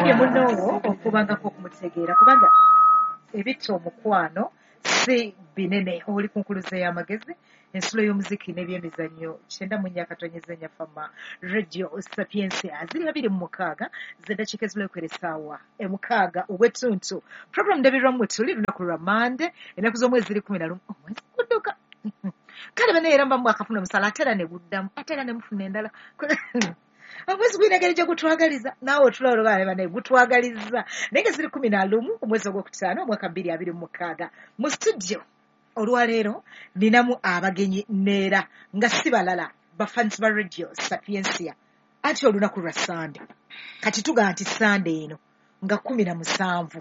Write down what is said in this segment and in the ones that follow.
Nkugambye munoowo okubangako okumutegeera, kubanga ebitta omukwano si binene. Oli ku nkuluze y'amagezi, ensulo y'omuziki n'ebyemizannyo, 94.4 Fama Radio Sapientia, ziri 26 z'eddakiika ezibulayo essaawa 6 ogw'ettuntu. Program Ndabirwamu tuli lunaku lwa Mande, ennaku z'omwezi ziri 11, omwezi gudduka. Kale bane era mba mwakafuna omusala, ate era ne guddamu, ate era ne mufuna endala. Omwezi gulina engeri gye gutwagaliza, naawe otula olwo bane gutwagaliza. Naye nga ziri 11 omwezi ogwokutaano omwaka 2026. Mu studio olwaleero ninamu abagenyi neera nga si balala, bafans ba Radio Sapientia. Anti olunaku lwa Sande, kati tugamba nti Sande eno nga 17.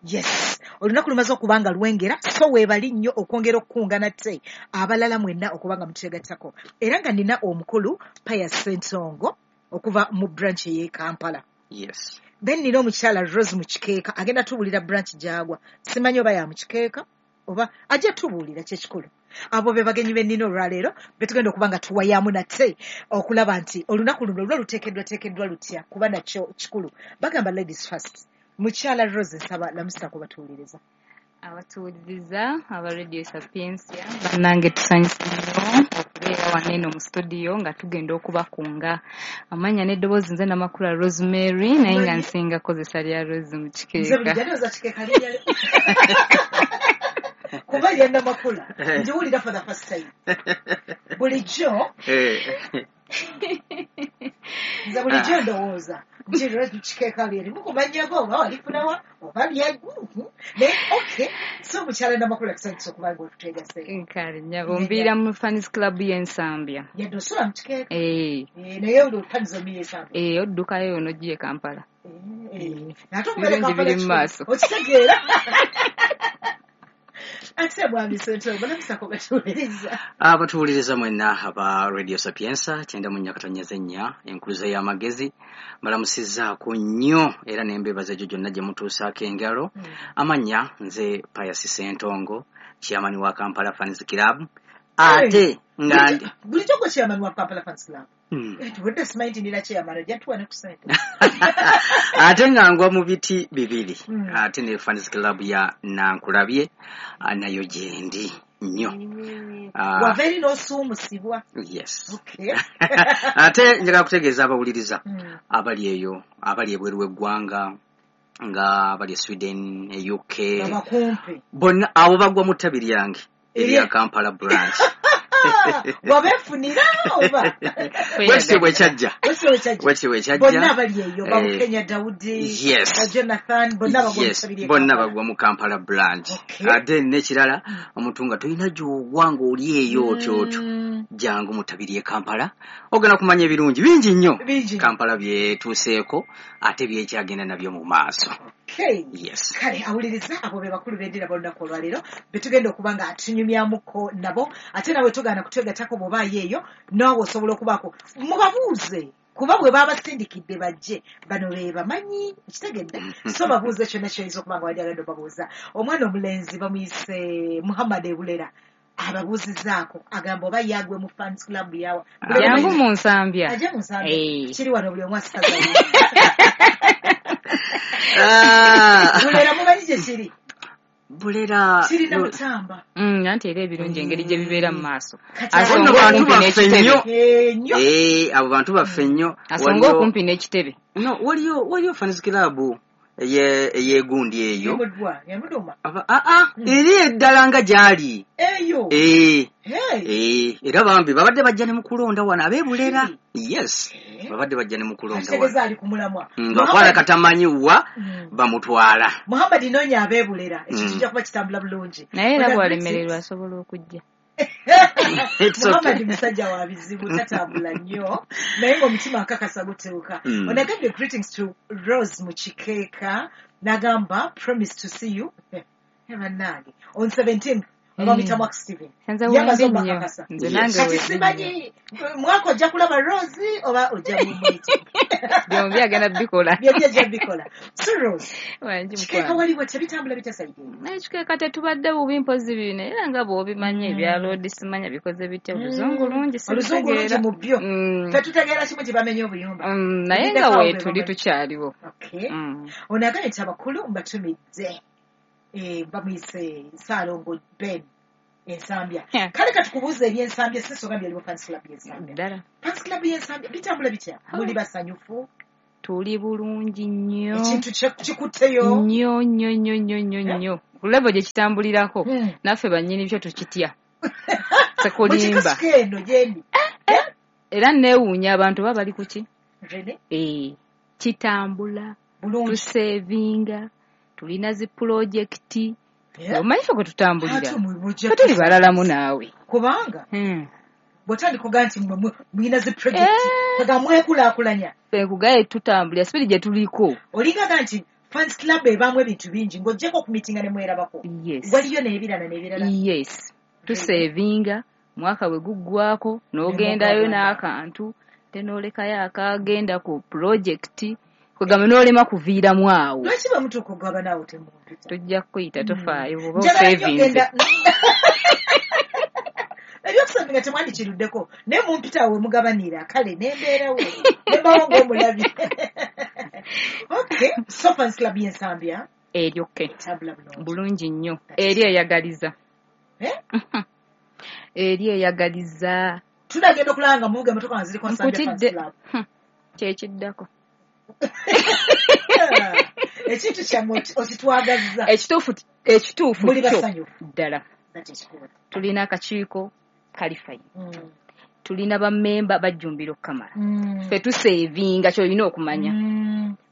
Yes, olunaku lumaze okuba nga lwengera, so weebali nnyo okwongera okukunga nate abalala mwenna okuba nga mutegattako. Era nga nina omukulu Pius Ssentongo okuva mu branch ey'e Kampala. Yes. Then nina omukyala Rose Mukikeeka, agenda tubuulira branch gy'agwa. Simanyi oba ya Mukikeeka oba ajja tubuulira kyekikulu. Abo be bagenyi be nnina olwaleero be tugenda okuba nga tuwayaamu nate okulaba nti olunaku luno lwo luteekeddwateekeddwa lutya, kuba nakyo kikulu. Bagamba ladies first. Mukyala Rose, nsaba lamusa kubatuwuliriza. Abatuwuliriza aba Radio Sapientia, bannange tusanyuse nnyo okubeera wano eno mu studio nga tugenda okubakunga. Amannya n'eddoboozi nze Namakula Rosemary, naye nga nsinga kozesa lya Rose mu Nze Kikeeka. bulijjo ndowooza Kikeeka linnya kuba lya Namakula ngiwulira for the first time. Bulijjo nze bulijjo ndowooza nti Rose Kikeeka lyerimu ku mannya go, oba walifunawa oba lya, naye okay. So mukyala Namakula, tusanyuse okuba nga otuteegase. Kale nnyabo, mbiira mu Fans Club y'Ensambya. Yadde osula mu Kikeeka. Eh, Naye olufanizo miyesamba. Eh, oddukayo n'ojja e Kampala. Ate okubeera Ebirungi Kampala biri mu kikulu. maaso. Okitegeera. Ate mwami Ssentongo, lamusako batuwuliriza. Abatuwuliriza mwenna aba Radio Sapientia 94.4, enkuluze y'amagezi, mbalamusizzaako nnyo era ne mbeebaza egyo gyonna gye mutuusaako engalo. Amannya nze Pius Ssentongo, chairman wa Kampala Fans Club, ate nga ndi Bulijjo gwe chairman wa Kampala Fans Club? Tubadde simanyi nti nina chairman, ojja tuwa ne ku ssente. Ate nga ngwa mu biti bibiri, ate ne Fans Club ya Nankulabye nayo gyendi nnyo. Wava eri n'osuumusibwa. Yes. Okay. Ate njagala kutegeeza abawuliriza abali eyo, abali ebweru w'eggwanga, nga abali e Sweden, e UK, Abakumpi. bonna abo bagwa mu ttabi lyange erya Kampala branch. Wabeefunira oba? Bwekityo bwe kyajja. Bwekityo bwe kyajja. Bwekityo bwe kyajja. Bonna abali eyo, Babukenya Daudi, Jonathan, bonna bagwa mu ttabi ly'e Bonna Kampala. bagwa mu Kampala branch. Okay. Ate n'ekirala, omuntu nga tolina gy'ogwa ng'oli eyo otyo otyo, jangu mu ttabi ly'e Kampala, ogenda kumanya ebirungi bingi nnyo Bingi nnyo. Kampala byetuuseeko ate byekyagenda nabyo mu maaso. Okay. Yes. Kale awuliriza, abo be bakulu b'endira b'olunaku olwaleero betugenda okuba nga tunyumyamuko nabo. Ate nawe togaana kutwegattako bw'obaayo eyo, naawe osobola okubaako mubabuuze, kuba bwe babasindikidde bajje bano be bamanyi, ekitegedde. So babuuze kyonna kyoyinza okuba nga wandyagadde obabuuza. Omwana omulenzi bamuyise Muhammad Ebulera, ababuuzizaako, agamba oba yagwe mu fans club yawa. Jangu mu Nsambya. Ajja mu Nsambya. Eh. Kiri wano buli omu asaza. Bulera mumanyi gye kiri? Bulera Kiri Namutamba. Anti era ebirungi engeri gye bibeera mu maaso. Kati Asonga Bonna bantu okumpi baffe n'ekitebe. nnyo. Nnyo. Abo bantu baffe nnyo. Asonga okumpi n'ekitebe. No, waliyo fans club eyegundi eyo. Yamudwa, yamuduma. Eri eddala nga gy'ali. Eyo. Hey. Era bambi babadde bajja ne mu kulonda wano ab'ebulera. Yes. Babadde bajja ne mu kulonda wano. Akitegeeza ali ku mulamwa. Nga kwala katamanyi wa bamutwala. Muhammad noonya ab'ebulera. Ekyo kijja kuba kitambula bulungi. Naye era bw'alemererwa asobola okujja. It's okay. Muhammad musajja wa bizibu, tatambula nnyo, naye ng'omutima akakasa gutuuka. Onagambye greetings to Rose Mukikeeka, n'agamba promise to see you, bannange, on 17th Bamuyita Mwaka Steven. Nze Yamaze wendi nnyo. obakakasa. Nze Yes. nange Kati wendi nnyo. simanyi mwaka ojja kulaba Rose oba ojja mumuyita. Byombi agenda bikola. Byombi ajja bikola. So Rose, Wangi kikeeka mukwano. waliwo tebitambula bitasayidde. Naye kikeeka tetubadde bubi mpozi bino era nga bw'obimanyi ebya loodi simanya bikoze bitya oluzungu lungi Oluzungu lungi sirutegeera. mu byo. Tetutegeera kimu nti bamenye obuyumba. Naye nga weetuli tukyaliwo. Okay. Ono agambye nti abakulu mbatumidde. Bamuyise Ssaalongo Ben Ensambya. Kale katukubuuza eby'Ensambya si nsonga byaliwo fans club y'Ensambya. Ddala. Fans club y'Ensambya bitambula bitya? Muli basanyufu? Tuli bulungi nnyo. Ekintu kikutteyo? Nnyo nnyo nnyo nnyo nnyo nnyo. Ku level gye kitambulirako naffe bannyini byo tukitya. Sekulimba. Mukikasika eno gyendi. Era neewuunya abantu baba bali ku ki? Rene? Kitambula. Bulungi. Tusevinga. Tulina zi pulojekiti. Omanyi ffe kwe tutambulira. Ate mujja Ffe tuli balalamu naawe. Kubanga bw'otandika ogaa nti mmwe mulina zi pulojekiti nga mwekulaakulanya. Ffe nkugaye tutambulira sipidi gye tuliko. Olingaga nti fans club ebaamu ebintu bingi ng'oggyeko okumiitinga ne mwerabako. Yes. Waliyo n'ebirala n'ebirala. Yes. Tusevinga mwaka bwe guggwako n'ogendayo n'akantu ate n'olekayo akagenda ku pulojekiti kwegamba n'olema kuviiramu awo. Lwaki bwe mutuuka okugaba naawe temumpita? Tujja kukuyita tofaayo bw'oba Njagala nnyo osevinze. ogenda ebyokusevinga temwandikiruddeko naye mumpita awo we mugabanira kale nembeerawo nembawo ng'omulabi. Okay, so fans club y'Ensambya Eryo ke. etambula bulungi. Bulungi nnyo. Eri eyagaliza. Eri eyagaliza. Tunagenda okulaba nga muvuga emmotoka nga ziriko Nsambya fans Nkutidde. club. Kyekiddako. Ekintu kyammwe okitwagazza. Ekituufu Muli kyo basanyufu. ddala. Nakyo Tulina akakiiko kali fine. Tulina bammemba bajjumbira okukamala. Ffe tusevinga ky'olina okumanya.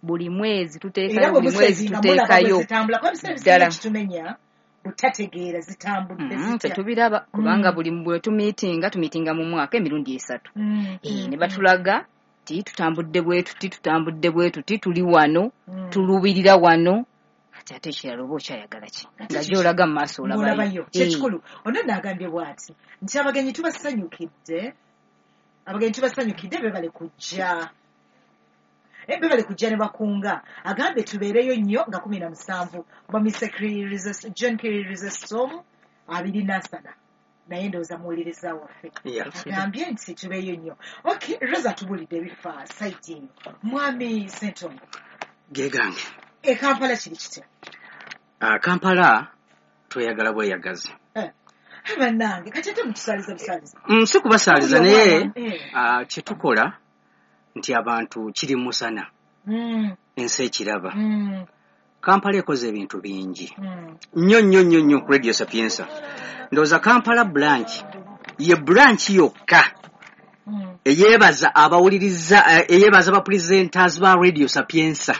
Buli mwezi tuteekayo, Era bwe buli mwezi musevinga mulaba bwe tuteekayo. zitambula kuba ebiseera ebisinga Ddala. kitumenya butategeera zitambudde zitya. Tetubiraba kubanga buli bwe tumiitinga mu mwaka emirundi 3. Ne batulaga ti tutambudde bwe tuti, tutambudde bwe tuti, tuli wano, tulubirira wano. Kati ate ekirala oba okyayagala ki? Nga gy'olaga mu maaso olabayo. Olabayo. Kyekikulu. Ono nno agambye bw'ati nti abagenyi tubasanyukidde. Abagenyi tubasanyukidde beebale kujja. Beebale kujja ne bakunga. Agambye tubeereyo nnyo nga 17. Bamise John Chrysostom 24. Naye ndowooza muwuliriza waffe. Agambye nti tubeeyo nnyo. Okay, Rosa tubulidde ebifa site eyo. Mwami Ssentongo. Ge gange. E Kampala kiri kitya? Kampala tweyagala bweyagazi. Bannange kati ate mutusaaliza busaaliza. Si kubasaaliza naye kye tukola nti abantu kiri musana. Ensi ekiraba. Kampala ekoze ebintu bingi. Nnyo nnyo nnyo nnyo ku Radio Sapienza. Ndowooza Kampala branch ye branch yokka eyeebaza abawuliriza eyeebaza ba presenters ba Radio Sapienza.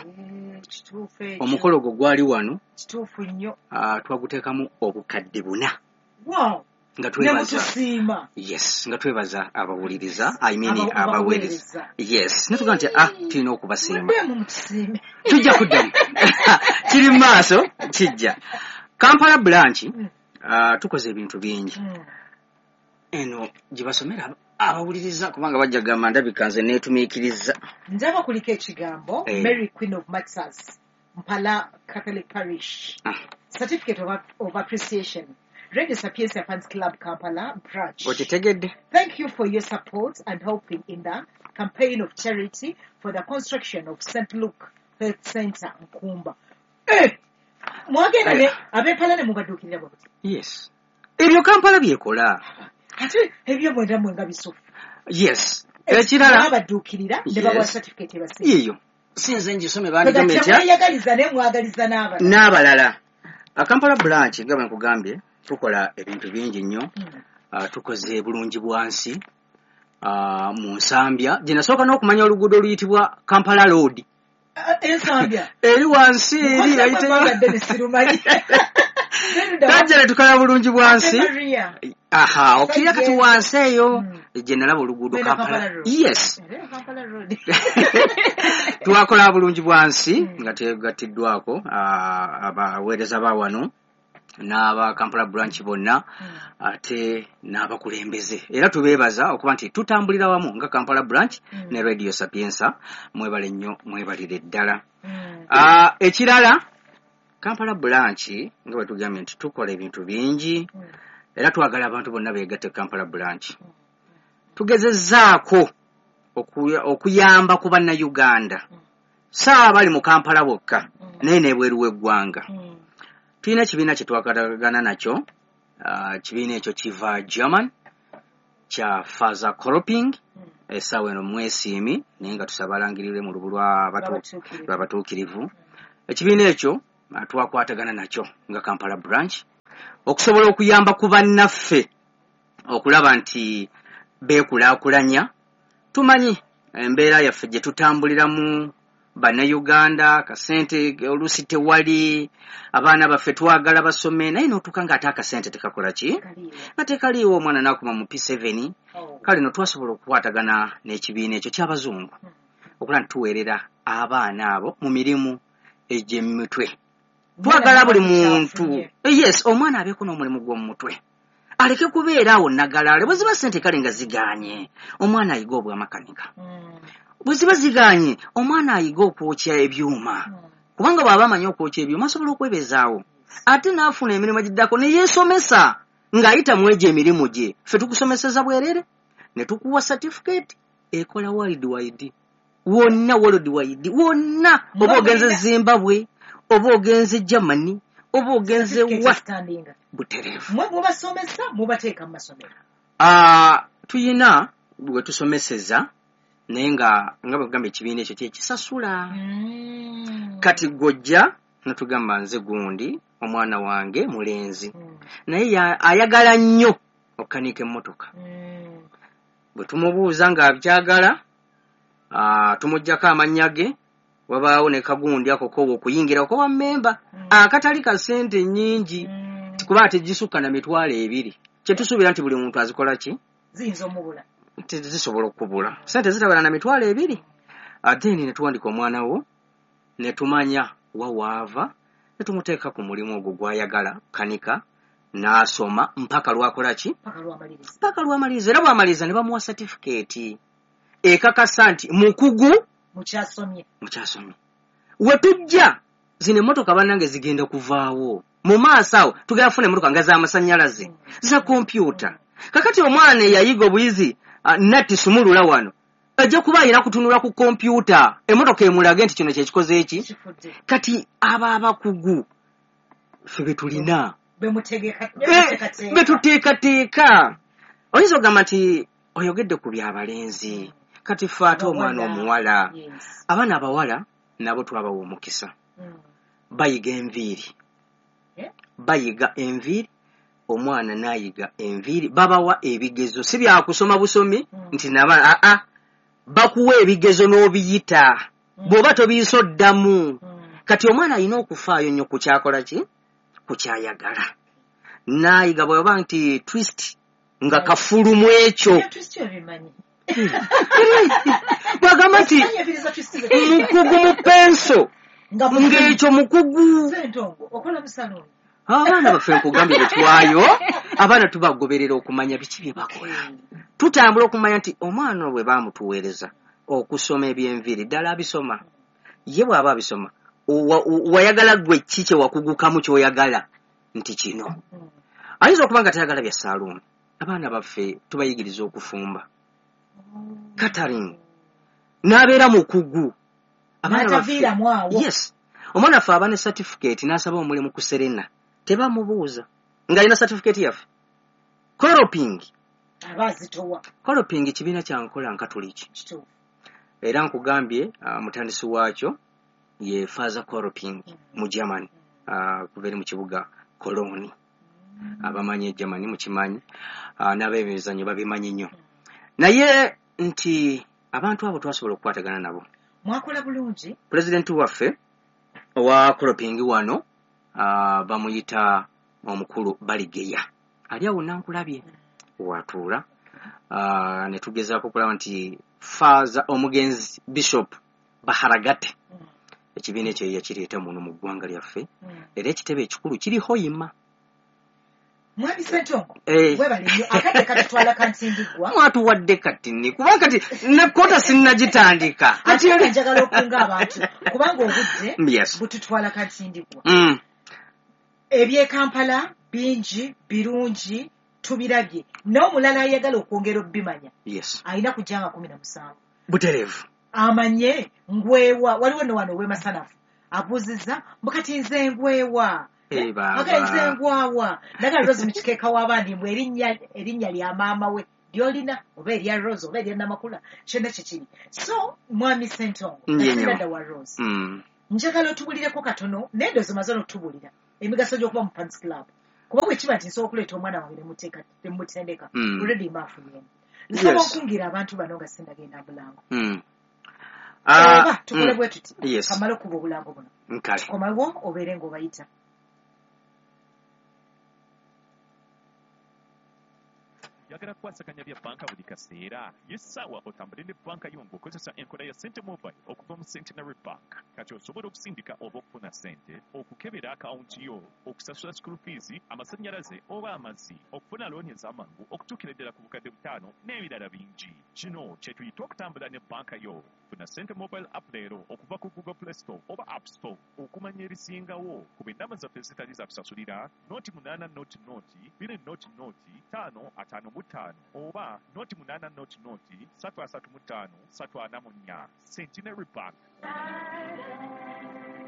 Omukolo ogwo gwali wano. Kituufu nnyo. Twaguteekamu obukadde 4. Wow. Nga twebaza. Nemutusiima. Yes, nga twebaza abawuliriza, I mean abaweereza. Yes, ne tugamba nti tulina okubasiima. Muddemu mutusiime. Tujja kuddamu. Kiri mu maaso, kijja. Kampala branch tukoze ebintu bingi. Eno gye basomera abawuliriza kubanga bajja kugamba ndabika nze neetumiikiriza. Ndaba kuliko ekigambo Mary Queen of Martyrs Mpala Catholic Parish. Certificate of Appreciation. Radio Sapienza Fans Club Kampala branch. Okitegedde. Thank you for your support and helping in the campaign of charity for the construction of St. Luke Health Center Nkumba. Mwagenda ne ab'Empala ne mubaduukirira bwe buti. Yes. Ebyo Kampala byekola. Ate ebyo mwenda mwe nga bisufu. Yes. Ekirala babaduukirira ne babawa certificate ebasiima. Eyo. Si nze ngisome bandigambye ntya. Temweyagaliza naye mwagaliza n'abalala. N'abalala. Kampala branch nga bwe nkugambye tukola ebintu bingi nnyo. Tukoze bulungi bwansi mu Nsambya gye nasooka n'okumanya oluguudo oluyitibwa Kampala Road. Ensambya. Eri wansi eri Tajja ne tukola bulungi bwansi. Aha, okirira kati wansi eyo gye nalaba oluguudo Kampala. Yes. Twakola bulungi bwansi nga tegattiddwako abaweereza ba wano. N'aba Kampala branch bonna, ate n'abakulembeze, era tubeebaza okuba nti tutambulira wamu nga Kampala branch ne Radio Sapienza. Mwebale nnyo, mwebalire ddala. Ekirala, Kampala branch nga bwe tugambye nti tukola ebintu bingi, era twagala abantu bonna beegatte ku Kampala branch. Tugezezzaako okuyamba ku Bannayuganda, saa bali mu Kampala bokka, naye n'ebweru w'eggwanga. Tulina ekibiina kye twakwatagana nakyo. Kibiina ekyo kiva German, kya Father Kolping. Essaawa eno mwesiimi, naye nga tusaba alangirirwe mu lubu Lw'abatuukirivu. Lw'abatuukirivu. Ekibiina ekyo twakwatagana nakyo nga Kampala branch okusobola okuyamba ku bannaffe okulaba nti beekulaakulanya. Tumanyi embeera yaffe gye tutambuliramu Bannayuganda, akasente oluusi tewali. Abaana baffe twagala basome, naye n'otuuka ng'ate akasente tekakola ki? Kaliiwo. Nga tekaliiwo, omwana n'akoma mu P7. Oh. Kale no twasobola okukwatagana n'ekibiina ekyo ky'abazungu okulaba nti tuweerera abaana abo mu mirimu egy'emitwe. Twagala buli muntu, yes, omwana abeeko n'omulimu gw'omu mutwe, aleke kubeera awo nagalaale. Bwe ziba ssente kale nga zigaanye, omwana ayiga obwamakanika. Bwe ziba zigaanye, omwana ayiga okwokya ebyuma, kubanga bw'aba amanyi okwokya ebyuma asobola okwebezaawo, ate n'afuna emirimu egiddako ne yeesomesa ng'ayita mu egyo emirimu gye. Ffe tukusomeseza bwerere ne tukuwa certificate ekola world wide, wonna, world wide wonna, oba ogenze Zimbabwe, oba ogenze Germany, oba ogenze wa, Standinga. Butereevu. Mwe mubasomesa, mubateeka mu masomero? Tuyina bwe tusomeseza, naye nga bwe kugamba ekibiina ekyo kyekisasula. Kati gw'ojja notugamba, nze gundi omwana wange mulenzi, naye ayagala nnyo okukanika emmotoka. Bwe tumubuuza ng'abyagala, tumuggyako amannya ge, wabaawo ne kagundi ako kowa okuyingira kowa mmemba, akatali ka ssente nnyingi, kuba tegisukka na 20,000, kyetusuubira nti buli muntu azikola ki? Ziyinza omubula. Zisobola okubula, sente zitabala na 20,000. Ate ne tuwandika omwana wo ne tumanya wa waava, ne tumuteeka ku mulimu ogwo gw'ayagala kanika, n'asoma mpaka lwakola ki? Paka lwamaliriza. Mpaka lwamaliriza. Era bw'amaliriza ne bamuwa satifikeeti ekakasa nti mukugu mukyasomye. Mukyasomye. We tujja, zino emmotoka bannange zigenda kuvaawo mu maaso awo, tugenda kufuna emmotoka nga z'amasannyalaze, za kompyuta. Kakati omwana eyayiga obuyizi, natti sumulula wano, ajja kuba alina kutunula ku kompyuta, emmotoka emulage nti kino kyekikoze eki. Kifudde. Kati abo abakugu ffe be tulina, bemutegeka, bemuteekateeka. Betuteekateeka. Oyinza okugamba nti oyogedde ku byabalenzi, kati ffe ate omwana Abawala. omuwala? Yes. Abaana abawala nabo twabawa omukisa, bayiga enviiri. Eh? Bayiga enviiri, omwana n'ayiga enviiri, babawa ebigezo, si byakusoma busomi nti naba aa, bakuwa ebigezo n'obiyita, bw'oba tobiyisa oddamu. Kati omwana alina okufaayo nnyo ku kyakola ki, ku kyayagala, n'ayiga bw'oba nti twist nga kafulu mu ekyo. Ebya twist obimanyi. Bw'agamba nti Okimanyi enviiri za twist mukugu mu penso, nga ng'ekyo mukugu. Sentongo okola mu saluuni. Abaana baffe, nkugambye, bwe twayo abaana tubagoberera okumanya biki bye bakola. Tutambula okumanya nti omwana bwe baamutuweereza okusoma ebyenviiri, ddala abisoma? Ye bw'aba abisoma, wayagala gwe ki kye wakugukamu ky'oyagala nti kino? Ayinza okuba nga tayagala bya saaluuni. Abaana baffe tubayigiriza okufumba, catering, n'abeera mukugu. Abaana baffe N'ataviiramu awo. Yes, omwana waffe aba ne certificate n'asaba omulimu ku Serena, tebamubuuza ng'alina certificate yaffe. Kolping. Aba azitowa. Kolping kibiina kya nkola nkatuliki. Kituufu. Era nkugambye, mutandisi waakyo ye Father Kolping mu Germany, kuva eri mu kibuga Cologne. Abamanyi e Germany mukimanyi, n'ab'emizannyo babimanyi nnyo. Naye nti abantu abo twasobola okukwatagana nabo. Mwakola bulungi. Pulezidenti waffe owa Kolping wano, bamuyita omukulu Baligeya, ali awo nankulabye watuula. Ne tugezaako okulaba nti Father omugenzi Bishop Baharagate, ekibiina ekyo yakireeta muno mu ggwanga lyaffe, era ekitebe ekikulu kiri Hoima. Mwami Ssentongo, Eh. webale nnyo, akadde katutwala kantindiggwa. Mwatuwadde kati nni, kuba kati ne kota sinnagitandika. Ate era njagala okunga abantu kubanga obudde bututwala kantindiggwa. Ebyekampala bingi birungi tubirabye, n'omulala ayagala okwongera okubimanya alina kujja nga 17. Butereevu. Amanye ngwewa, waliwo no wano ow'emasanafu abuuzizza mbu kati nze ngwewa. Eh, baaba. Aga nze ngwawa nagala Rose mu kikeeka w'abandi mbu erinnya lya maama we lyolina oba erya Rose oba erya Namakula, kyonna kye kiri. So mwami Ssentongo, Ndiye nnyo. Kasinadda wa Rose, njagala otubulireko katono, naye ndowooza omaze n'otubulira emigaso gy'okuba mu Fans Club, kuba bwe kiba nti nsobola okuleeta omwana wange ne mutendeka, already mba afunyemu. Nsaba okungira abantu bano nga sindagenda bulango. Oba tukole bwe tuti, kamale okuba obulango buno, Nkale. komawo obeere ng'obayita. Oyagala kukwasaganya bya bbanka buli kaseera? Y'essaawa otambule ne bbanka yo ng'okozesa enkola ya Sente Mobile okuva mu Centenary Bank. Kati osobola okusindika oba okufuna ssente, okukebera akawunti yo, okusasula school fees, amasannyalaze oba amazzi, okufuna looni ez'amangu okutuukira ddala ku 5,000 n'ebirala bingi. Kino kye tuyita okutambula ne bbanka yo. Funa Sente Mobile app leero okuva ku Google Play Store oba App Store. Okumanya ebisingawo, kuba ennamba zaffe ezitali za kusasulira 0800 000 555 oba 0800 335 344. Centenary Bank.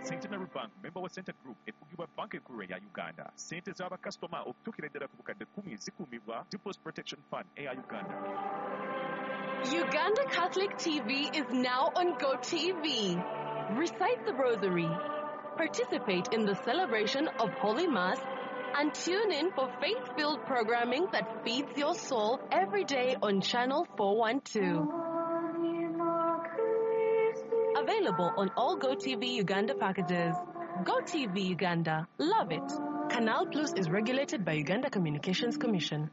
Centenary Bank, member wa Center Group, efugibwa banka enkulu eya Uganda. Ssente z'abakasitoma okutuukira ddala ku 10,000 zikuumibwa Deposit Protection Fund eya Uganda. Uganda Catholic TV is now on GoTV. Recite the Rosary, participate in the celebration of Holy Mass, and tune in for faith-filled programming that feeds your soul every day on Channel 412. Available on all GoTV Uganda packages. GoTV Uganda. Love it. Canal Plus is regulated by Uganda Communications Commission.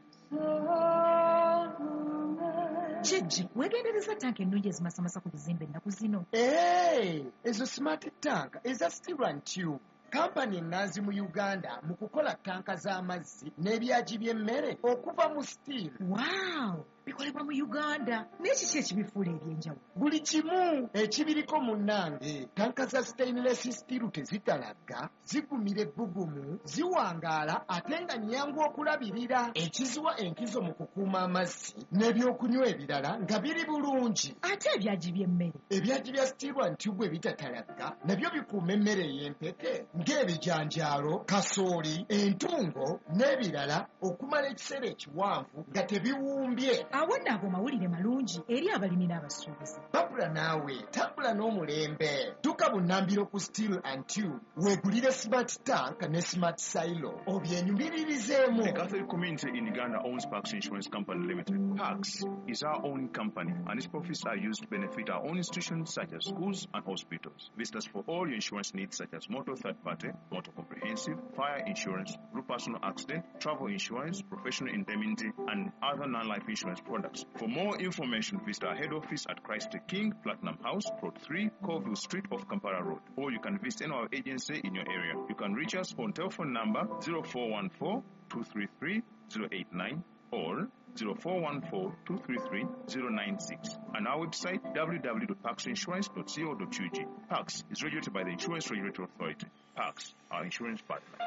Kijji, weegendereza tanka ennungi ezimasamasa ku bizimbe ennaku zino. Hey, ezo smart tank eza Steel and Tube, kampani ennanzi mu Uganda mu kukola tanka z'amazzi n'ebyagi by'emmere okuva mu steel. Waaw, bikolebwa mu Uganda, naye kiki ekibifuula ebyenjawulo? Buli kimu ekibiriko munnange. Tanka za stainless steel tezitalagga, zigumira ebbugumu, ziwangaala ate nga nnyangu okulabirira, ekiziwa enkizo mu kukuuma amazzi n'ebyokunywa ebirala nga biri bulungi. Ate ebyagi by'emmere? Ebyagi bya Steel and Tube ebitatalagga nabyo bikuuma emmere ey'empeke ng'ebijanjaalo, kasooli, entungo n'ebirala okumala ekiseera ekiwanvu nga tebiwumbye. Awo nno ago mawulire malungi eri abalimi n'abasuubuzi. Babula naawe tambula n'omulembe, tuka bunnambiro ku Steel and Tube weegulire smart tank ne smart silo obyenyumiririzeemu. The Catholic community in Uganda owns Pax Insurance Company Limited. Pax is our own company and its profits are used to benefit our own institutions such as schools and hospitals. Visit us for all your insurance needs such as motor third party, motor comprehensive, fire insurance, group personal accident, travel insurance, professional indemnity, and other non-life insurance products. For more information, visit our head office at Christ the King, Platinum House, Plot 3, Colville Street off Kampala Road. Or you can visit any of our agency in your area. You can reach us on telephone number 0414 233 089 or 0414 233 096 and our website www.paxinsurance.co.ug. Pax is regulated by the Insurance Regulatory Authority. Pax, our insurance partner.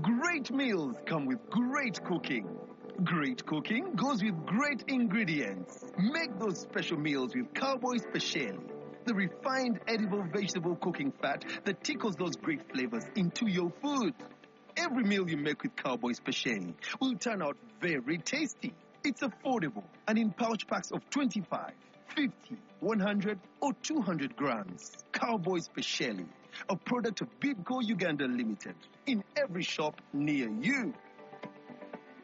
Great meals come with great cooking. Great cooking goes with great ingredients. Make those special meals with Cowboy Speciale, the refined edible vegetable cooking fat that tickles those great flavors into your food. Every meal you make with Cowboy Speciale will turn out very tasty. It's affordable and in pouch packs of 25, 50, 100 or 200 grams. Cowboy Speciale, a product of Bidco Uganda Limited, in every shop near you.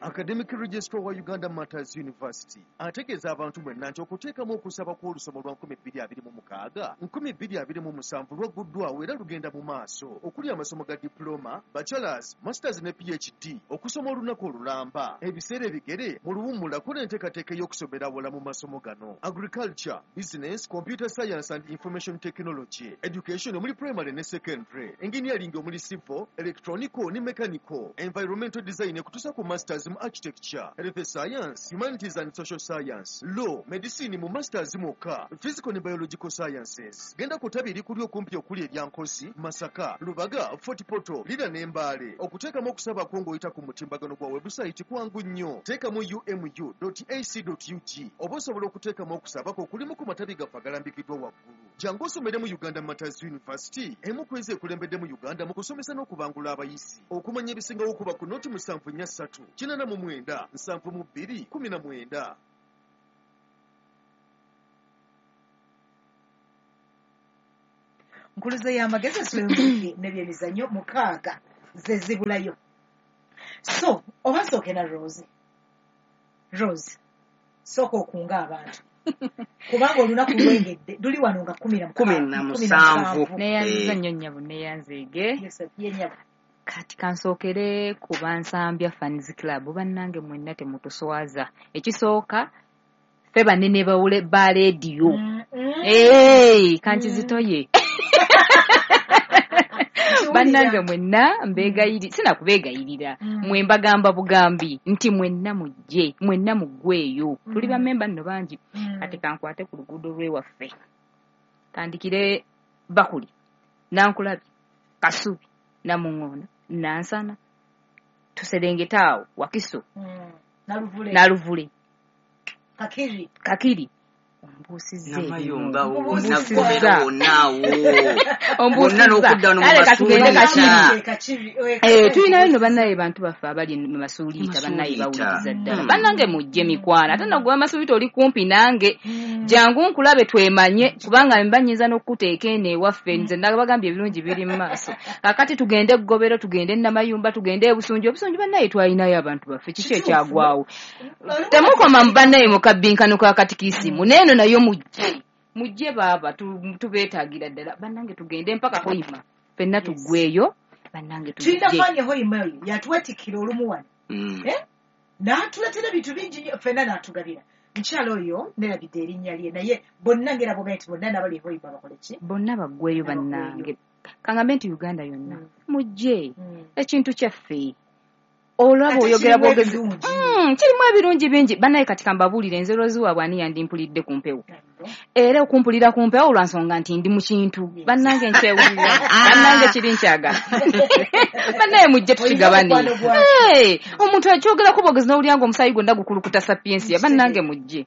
Academic Registrar wa Uganda Martyrs University ategeeza abantu mwenna nti okuteekamu okusaba kw'olusoma lwa 2026 2027 lwagguddwawo era lugenda mu maaso okuli amasomo ga diploma, bachelors, masters ne PhD, okusoma olunaku olulamba, ebiseera ebigere mu luwummula kola enteekateeka ey'okusomera awala mu masomo gano: agriculture, business, computer science and information technology, education omuli primary ne secondary, engineering omuli civil, electronical ne mechanical, environmental design ekutuusa ku masters mu architecture, health science, humanities and social science, law, medicine mu masters mwokka, physical ne biological sciences. Genda ku ttabi erikuli okumpi okuli erya Nkozi, Masaka, Lubaga, Fort Portal, Lira ne Mbale. Okuteekamu okusaba kwo ng'oyita ku mutimbagano gwa website kwangu nnyo. Teekamu umu.ac.ug oba osobola okuteekamu okusaba kwo okulimu ku matabi gaffe agalambikiddwa waggulu. Jangu osomere mu Uganda Martyrs University, emu ku ezo ekulembedde mu Uganda mu kusomesa n'okubangula abayizi. Okumanya ebisingawo kuba ku noti 743 89 72 19. Nkuluze y'amagezi, ensulo y'omuziki n'ebyemizannyo, 6 ze zibulayo. So oba nsooke na Rose. Rose, sooka okunga abantu kubanga olunaku lwengedde luli wano nga 17. Neyanziza nnyo nnyabo, neyanzeege. Ye nnyabo. Kati kansookere ku Bansambya Fans Club. Bannange mwenna temutuswaza. Ekisooka, ffe banene bawule ba leediyo. Kankizitoye. Bannange mwenna mbeegayiri, sinakubeegayirira, mwe mbagamba bugambi nti mwenna mujje, mwenna muggweeyo. Tuli bammemba nno bangi. Kati kankwate ku luguudo lw'ewaffe, tandikire Bakuli, Nankulabye, Kasubi, Namuŋŋoona, Nansana, tuserengete awo Wakiso, Naluvule, Kakiri. Ombuusizza. Namayumba Ombuusizza. wonna wonna awo bonna n'okudda wano mu Kale katugende Masuuliita. Kakiri. Tulinayo nno bannaye bantu baffe abali mu Masuuliita, bannaye bawuliriza ddala. Bannange mujje mikwano, ate nno gwe Masuuliita oli kumpi nange, jangu nkulabe twemanye, kubanga mba nnyinza n'okukuteeka eno ewaffe. Nze nabagambye ebirungi biri mu maaso. Kaakati tugende Eggobero, tugende Namayumba, tugende Ebusunju. Obusunju bannaye twalinayo abantu baffe, kiki ekyagwawo? Temukoma mu bannaye mu kabbinkano ka katikisimu, n'eno nayo mujje, mujje baaba, tubeetaagira ddala. Bannange tugende mpaka Hoima, ffenna tuggweeyo. Bannange Tulina tujje. Fani Hoima oyo yatwetikkira olumu wano, n'atuleetera ebintu bingi nnyo ffenna n'atugabira. Mukyala oyo nerabidde erinnya lye, naye bonna ngera bwogambye nti bonna n'abali Hoima bakole ki? Bonna baggweeyo. Bonna baggweeyo. Bannange kangambe nti Uganda yonna mujje, ekintu kyaffe olaba Ate oyogera kirimu bwogezi. ebirungi. Kirimu ebirungi bingi bannaye. Kati kambabuulire, nze Rose waabwe ani yandimpulidde ku mpewo? Era okumpulira ku mpewo lwa nsonga nti ndi mu kintu. Bannange nkyewulira, bannange kiri nkyagala. Bannaye mujje tukigabane. Olina omukwano gwakyo. Hey, omuntu akyogerako bwogezi n'owulira nga omusaayi gwonna gukulukuta sapiensia. Bannange mujje,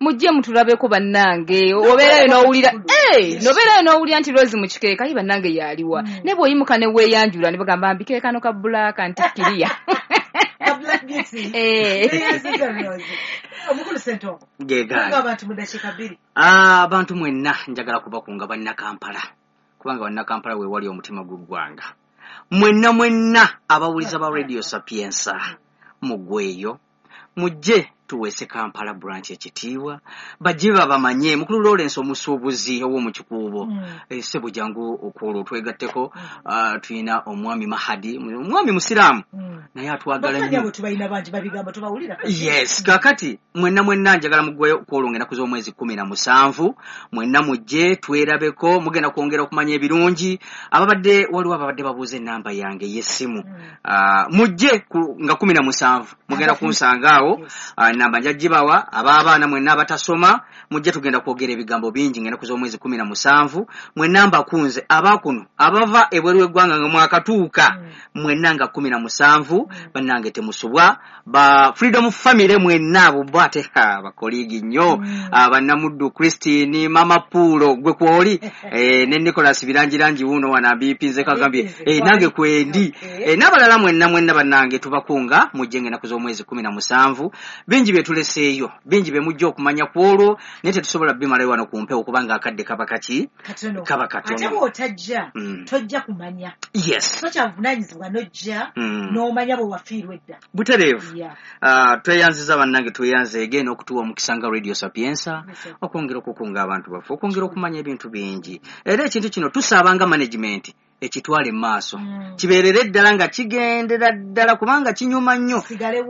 mujje mutulabeko. Bannange obeerayo n'owulira, hey, n'obeerayo n'owulira nti Rose mu kikeeka ye bannange yaliwa, ne bw'oyimuka ne weeyanjula ne bagamba mbikeekano ka black nti kiriya. Ka Black Beauty. Neyanziza Rose. Omukulu Ssentongo, Gegaali. kunga abantu mu ddakiika 2. Abantu mwenna njagala kubakunga Bannakampala, kubanga Bannakampala we wali omutima gw'eggwanga. Mwenna mwenna abawuliza ba Radio Sapienza, muggweeyo, mujje tuweese Kampala branch ekitiibwa, bajje babamanye. Mukulu Lawrence omusuubuzi ow'omu Kikuubo, ssebo jangu okwolwo twegatteko. Tulina omwami Mahadi, omwami musiraamu naye atwagala Bafani nnyo. abo tubalina bangi, babigamba tubawulira. Yes, kakati mwenna mwenna njagala muggweyo kwolwo ng'ennaku z'omwezi 17. Mwenna mujje twerabeko, mugenda kwongera okumanya ebirungi. Ababadde waliwo ababadde babuuza ennamba yange ey'essimu. Mujje nga 17 mugenda kunsanga awo. Namba nja gibawa. Ab'abaana mwenna abatasoma mujje, tugenda kwogera ebigambo bingi ng'ennaku z'omwezi 17. Mwenna mbakunze, abakuno abava ebweru w'eggwanga nga mwakatuuka, mwenna nga 17 bannange temusubwa. Ba Freedom Family mwenna abo bo ate ha, bakoligi nnyo. Bannamuddu Christine, Mama Puulo gwe kwoli, ne Nicholas Birangirangi wuuno wano ambiipinze kagambye Ambiipinze, nange kwali. Kwendi. N'abalala mwenna mwenna bannange tubakunga mujje ng'ennaku z'omwezi 17 bingi. Bingi bye tuleseeyo, bingi bye mujja okumanya ku olwo, naye tetusobola bimalayo wano ku mpewo kubanga akadde kaba kaki? Katono. Kaba Ate katono. bw'otajja, tojja kumanya. So kyavunaanyizibwa n'ojja n'omanya bwe wafiirwa edda. Butereevu. Yeah. Tweyanziza bannange, tweyanzeege n'okutuwa omukisa nga Radio Sapiensa Yes, okwongera okukunga abantu baffe, okwongera okumanya ebintu bingi. Era ekintu kino tusaba nga management ekitwale mu maaso, kibeerere ddala nga kigendera ddala kubanga kinyuma nnyo. Sigalewo.